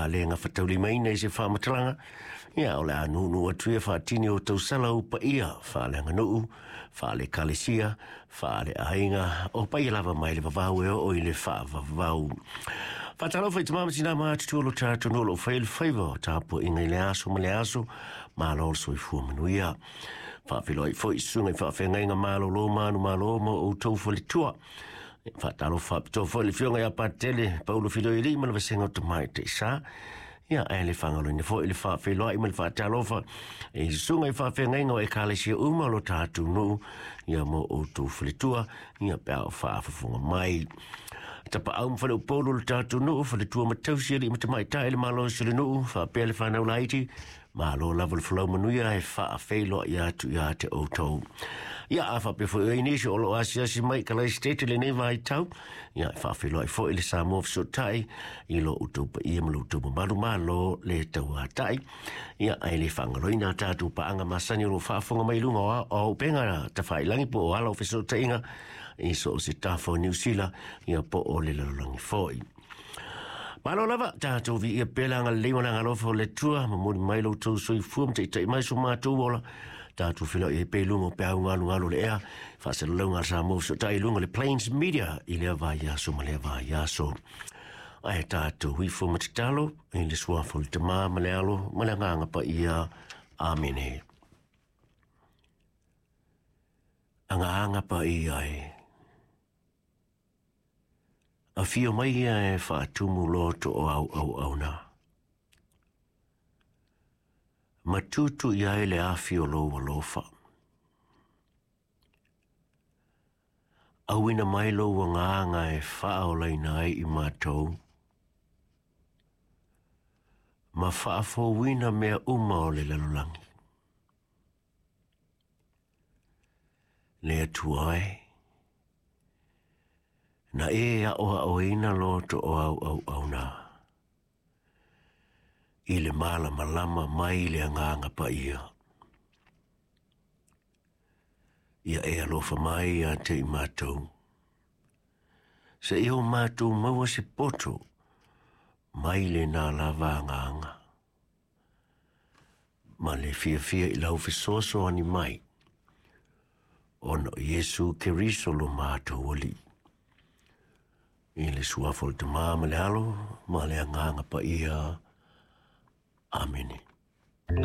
a le gafataulimaina i se faamatalaga, ia o le a nuunuu atu ia faatini o tausala ou paia faaleaganuu, faale-ekalesia, faale-aiga, o paia lava mai le vavau e oo i le faavavau. Faatalofa i tama ma tina ma atutua o lo tatou nuu o lo o faia le faiva o tapuaiga i le aso ma le aso, malo le soifua manuia. Faafeiloai foi i susuga i faafeagaiga malolo manumalo ma outou faletua. Faatalofa faapitoa foi i le afioga ia Patele Paulo Filoialii ma le vasega o Tamaitai Sa. Ia, ae le faagaloina foi le faafeiloai ma le faatalofa i susuga i faafeagaiga o ekalesia uma o lo tatou nuu, ia mo outou faletua, ia pe a o faafofoga mai. Tapaau ma faleupolu o le tatou nuu, faletua ma tausi alii ma tamaitai le malosi o le nuu, faapea le fanau laiti, malo lava le folau manuia e faafeiloai atu ia te outou. Ia, a faapea foi o i ai nisi o lo o asiasi mai i Kalaisitete i lenei vaitau, ia e faafeiloai foi le Samoa Fesootai i lo outou paia ma lo outou mamalu, malo le tauatai. Ia, ae le faagaloina a tatou paaga masani o lo o faafofoga mai i luga o auupega tafailagi po o ala o fesootaiga i so o se tafa o Niu Sila, ia po o le lalolagi foi. Malo lava, tatou viia pea le agalelei ma le agalofa o le Atua, momoli mai lo outou soifua ma taitai mai so matou ola, tatou feiloai ai pea i luga o peau galugalu o le ea, faasalalauga a le Samoa Fesootai i luga o le Plains Media i lea vaiaso ma lea vaiaso. Ae tatou ifo ma tatalo i le suafa o le Tama ma le Alo ma le Agaga Paia. Amene. Agaga Paia e. Afio mai ia e faatumu loto o au auauna. Ma tutu i ai le afi o lou alofa. Auina mai lou agaga e faaolaina ai i matou, ma faafouina mea uma o le lalolagi. Le Atua e, na e aʻoaʻoina loto o au auauna i le malamalama mai le Agaga Paia. Ia e alofa mai ia te i matou, seia o matou maua se poto mai lena lava agaga, ma le fiafia i lau fesoasoani mai, ona o Iesu Keriso lo matou Alii. I le suafa o le Tama ma le Alo ma le Agaga Paia. Amene.